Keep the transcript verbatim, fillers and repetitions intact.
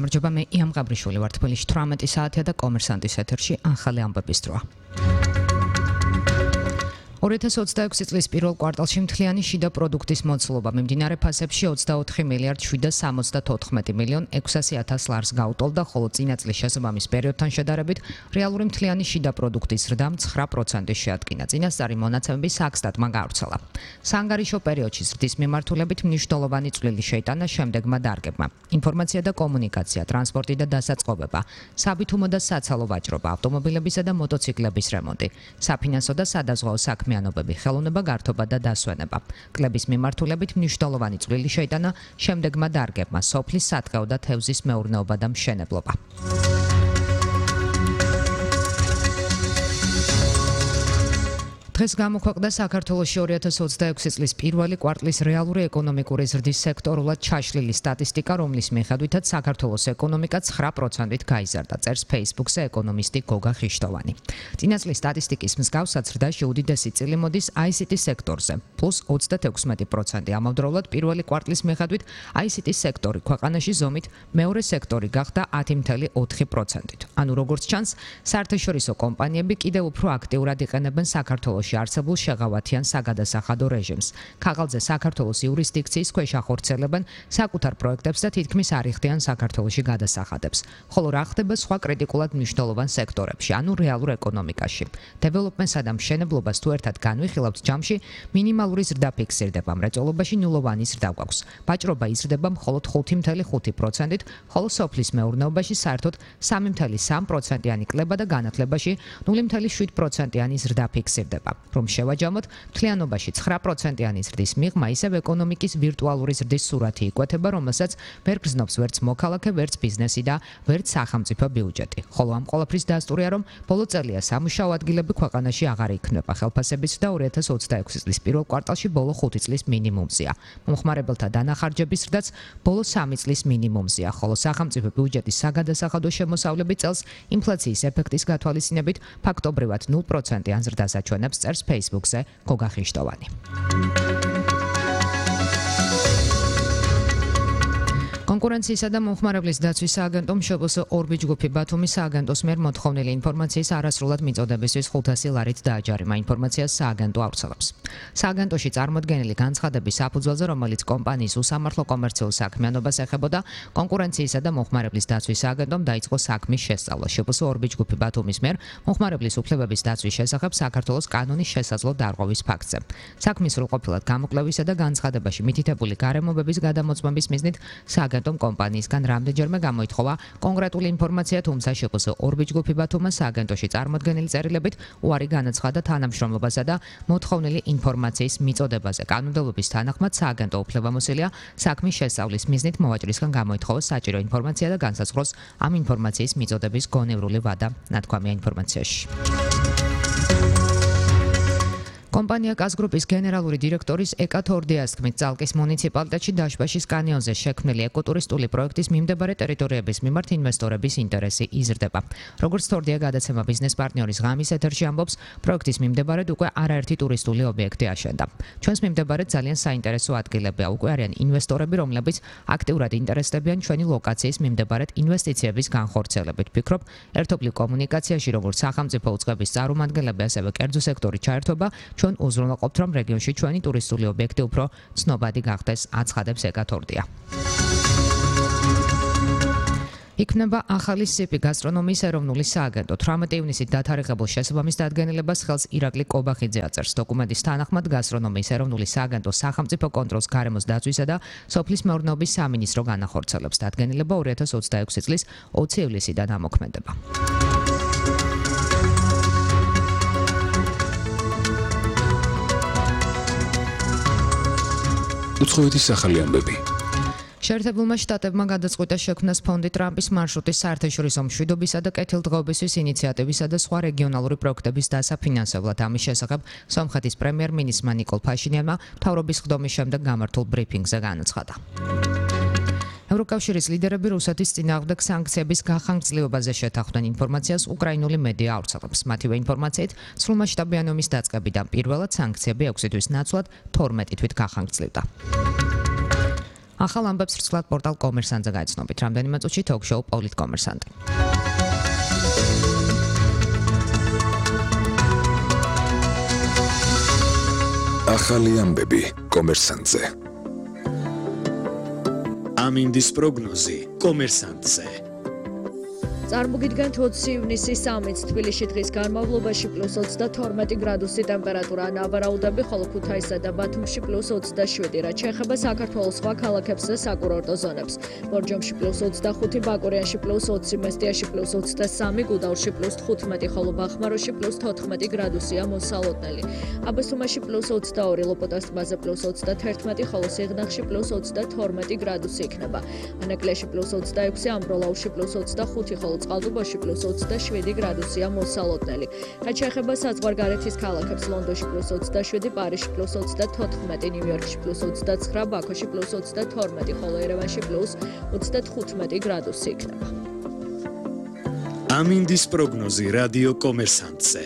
გამარჯობა, მე იამ გაბრიშვილი ვარ თბილისში თვრამეტი საათია და კომერსანტის ეთერში ახალი ამბების დროა. ორი ათას ოცდაექვსი წლის პირველ კვარტალში მთლიანი შიდა პროდუქტის მოცულობა მიმდინარე ფასებში ოცდაოთხი მილიარდ შვიდ სამოცდათოთხმეტი მილიონ ექვსასი ათას ლარს გაუტოლდა, ხოლო წინა წლის შესაბამის პერიოდთან შედარებით რეალური მთლიანი შიდა პროდუქტის ზრდამ ცხრა პროცენტი შეადგინა. წინასწარი მონაცემები საქსტატმა გაავრცელა. საანგარიშო პერიოდში ზრდის მიმართულებით მნიშვნელოვანი წვლილი შეიტანა შემდეგმა დარგებმა: ინფორმაცია და კომუნიკაცია, ტრანსპორტი და დასაწყობება, საბითუმო და საცალო ვაჭრობა, ავტომობილებისა და მოტოციკლების რემონტი, საფინანსო და სადაზღვაო საქმე ხელოვნება, გართობა და დასვენება. კლების მიმართულებით მნიშვნელოვანი წვლილი შეიტანა შემდეგმა დარგებმა: სოფლის სატყეო და თევზის მეურნეობა და მშენებლობა. დღეს გამოქვეყნდა საქართველოში ორი ათას ოცდაექვსი წლის პირველი კვარტლის რეალური ეკონომიკური ზრდის სექტორულად ჩაშლილი სტატისტიკა, რომლის მიხედვითაც საქართველოს ეკონომიკა ცხრა პროცენტით გაიზარდა, წერს Facebook-ზე ეკონომისტი გოგა ხიშტოვანი. წინა წლის სტატისტიკის მსგავსად ზრდაში უდიდესი წილი მოდის აი სი ტი სექტორზე, პლუს ოცდათექვსმეტი პროცენტი. ამავდროულად პირველი კვარტლის მიხედვით აი სი ტის სექტორი ქვეყანაში ზომით მეორე სექტორი გახდა ათი მცდე ოთხი პროცენტით. ანუ როგორც ჩანს, საერთაშორისო კომპანიები კიდევ უფრო აქტიურად იყენებენ საქართველოს არსებულ შეღავათიან საგადასახადო რეჟიმს. ქაღალდზე საქართველოს იურისდიქციის ქვეშ ახორციელებენ საკუთარ პროექტებს და თითქმის არ იხდიან საქართველოში გადასახადებს. ხოლო რა ხდება სხვა კრიტიკულად მნიშვნელოვან სექტორებში, ანუ რეალურ ეკონომიკაში? დეველოპმენტსა და მშენებლობას თუ ერთად განვიხილავთ, ჯამში მინიმალური ზრდა ფიქსირდება, მრეწველობაში ნულოვანი ზრდა გვაქვს. ვაჭრობა იზრდება მხოლოდ ხუთი მცდე ხუთი პროცენტით, ხოლო სოფლის მეურნეობაში საერთოდ სამი მცდე სამი პროცენტიანი კლება და განათლებაში ნული მცდე შვიდ პროცენტიანი ზრდა ფიქსირდება. რომ შევაჯამოთ, მთლიანობაში ცხრა პროცენტიანი ზრდის მიღმა ისევ ეკონომიკის ვირტუალური ზრდის სურათი იკვეთება, რომელსაც ვერ გრძნობს ვერც მოქალაქე, ვერც ბიზნესი და ვერც სახელმწიფო ბიუჯეტი. ხოლო ამ ყველაფრის დასტურია, რომ ბოლო წელია სამუშაო ადგილები ქვეყანაში აღარ იქმნება, ხელფასებიც და ორი ათას ოცდაექვსი წლის პირველ კვარტალში ბოლო ხუთი წლის მინიმუმზეა. მომხმარებელთა დანახარჯების ზრდაც ბოლო სამი წლის მინიმუმზეა, ხოლო სახელმწიფო ბიუჯეტის საგადასახადო შემოსავლები წელს ინფლაციის ეფექტის გათვალისწინებით ფაქტობრივად ნულ პროცენტიან ზრდას აჩვენებს, წერს Facebook-ზე გოგა ხიშტოვანი. კონკურენციისა და მომხმარებლის დაცვის სააგენტომ შპს ორბიჯ ჯგუფი ბათუმის სააგენტოს მიერ მოთხოვნილი ინფორმაციის არასრულად მიწოდებისთვის ხუთასი ლარით დააჯარიმა. ინფორმაციას სააგენტო ავრცელებს. სააგენტოში წარმოდგენილი განცხადების საფუძველზე, რომელიც კომპანიის უსამართლო კომერციულ საქმიანობას ეხებოდა, კონკურენციისა და მომხმარებლის დაცვის სააგენტომ დაიწყო საქმის შესწავლა. შპს ორბიჯ ჯგუფი ბათუმის მიერ მომხმარებლის უფლებების დაცვის შესახებ საქართველოს კანონის შესაძლო დარღვევის ფაქტზე. საქმის სრულყოფილად გამოკვლევისა და განცხადებაში მითითებული გარემოებების გადამოწმების მიზნით სააგენტომ კომპანიისგან რამდენჯერმე გამოითხოვა კონკრეტული ინფორმაცია, თუმცა შპს ორბიჯ ჯგუფი ბათუმას სააგენტოში წარმოდგენილი წერილებით უარი განაცხადა თანამშრომლობასა და მოთხოვნილი ინფორმაციის მიწოდებაზე. კანონმდებლობის თანახმად სააგენტო უფლებამოსილია საქმის შესწავლის მიზნით მოვაჭრისგან გამოითხოვოს საჭირო ინფორმაცია და განსაზღვროს ამ ინფორმაციის მიწოდების გონევრული ვადა, ნათქვამია ინფორმაციაში. კომპანია კაზგრუპის გენერალური დირექტორის ეკა თორდიას თქმით, წალკის მუნიციპალიტეტში დაშბაშის კანიონზე შექმნილი ეკოტურისტული პროექტის მიმდებარე ტერიტორიების მიმართ ინვესტორების ინტერესი იზრდება. როგორც თორდია გადაცემა ბიზნეს პარტნიორის ღამის ეთერში ამბობს, პროექტის მიმდებარედ უკვე არაერთი ტურისტული ობიექტი აშენდა. ჩვენს მიმდებარედ ძალიან საინტერესო ადგილებია, უკვე არიან ინვესტორები, რომლებიც აქტიურად ინტერესდებიან ჩვენი ლოკაციის მიმდებარედ ინვესტიციების განხორციელებით. ვფიქრობ, ერთობლივ კომუნიკაციაში როგორც სახელმწიფო უწყების წარმომადგენლები, ასევე კერძო სექტორი ჩაერთვება, ჩვენ უზრუნველყოფთ, რომ რეგიონში ჩვენი ტურისტული ობიექტი უფრო ცნობადი გახდეს, აცხადებს ეკა თორდია. იქნება ახალი სიპი გასტრონომიის ეროვნული სააგენტო. თვრამეტი ივნისით დათარიღებულ შესაბამის დადგენილებას ხელს ირაკლი კობახიძე აწერს. დოკუმენტის თანახმად გასტრონომიის ეროვნული სააგენტო სახელმწიფო კონტროლს, გარემოს დაცვისა და სოფლის მეურნეობის სამინისტრო განახორციელებს. დადგენილება ორი ათას ოცდაექვსი წლის ოცი ივლისიდან ამოქმედება. უცხოეთის ახალი ამბები. შეერთებულმა შტატებმა გადაწყვიტა შექმნას ფონდი ტრამპის მარშრუტის საერთაშორისო მშვიდობისა და კეთილდღეობისთვის ინიციატივისა და სხვა რეგიონალური პროექტების დასაფინანსებლად. ამის შესახებ სომხეთის პრემიერ-მინისტრმა ნიკოლ ფაშინიანმა მთავრობის ხდომის შემდეგ გამართულ ბრიფინგზე განაცხადა. ევროკავშირის ლიდერები რუსეთის წინააღმდეგ სანქციების გახანგრძლივებაზე შეთანხმდნენ. ინფორმაციას უკრაინული მედია ავრცელებს. მათივე ინფორმაციით, სრულმასშტაბიანი ომის დაწყებიდან პირველად სანქციები ექვსი თვის ნაცვლად თორმეტი თვით გახანგრძლივდა. ახალ ამბებს რცლად პორტალ კომერსანტზე გაიცნობით. რამდენიმე წუთში თოქ-შოუ პოლიტკომერსანტი. ახალი ამბები კომერსანტზე. ამინდის პროგნოზი კომერსანტზე. წარმოგიდგენთ ოცი ივნისის სამიც თბილისში დღის განმავლობაში პლუს ოცდათორმეტი გრადუსი ტემპერატურა ნავარაუდები, ხოლო ქუთაისსა და ბათუმში პლუს ოცდაშვიდი, რაც შეეხება საქართველოს სხვა ქალაქებს და საკურორტო ზონებს. ბორჯომში პლუს ოცდახუთი, ბაკურიანში პლუს ოცი, მესტიაში პლუს ოცდასამი, გუდაურში პლუს თხუთმეტი, ხოლო ბახმაროში პლუს თოთხმეტი გრადუსია მოსალოდნელი. აბასთუმანში პლუს ოცდაორი, ლოპოტას ტბაზე პლუს ოცდათერთმეტი, ხოლო სიღნაღში პლუს ოცდათორმეტი გრადუსი იქნება. ანაკლიაში პლუს ოცდაექვსი, ამბროლაუში პლუს ოცდახუთი, ხოლო წყალტუბოში პლუს ოცდაშვიდი გრადუსია მოსალოდნელი. რაც შეეხება საზღვარგარეთის ქალაქებს, ლონდონში პლუს ოცდაშვიდი, პარიზში პლუს ოცდათოთხმეტი, ნიუ-იორკში პლუს ოცდაცხრა, ბაქოში პლუს ოცდათორმეტი, ხოლო ერევანში პლუს ოცდათხუთმეტი გრადუსი იქნება. ამინდის პროგნოზი რადიო კომერსანტზე.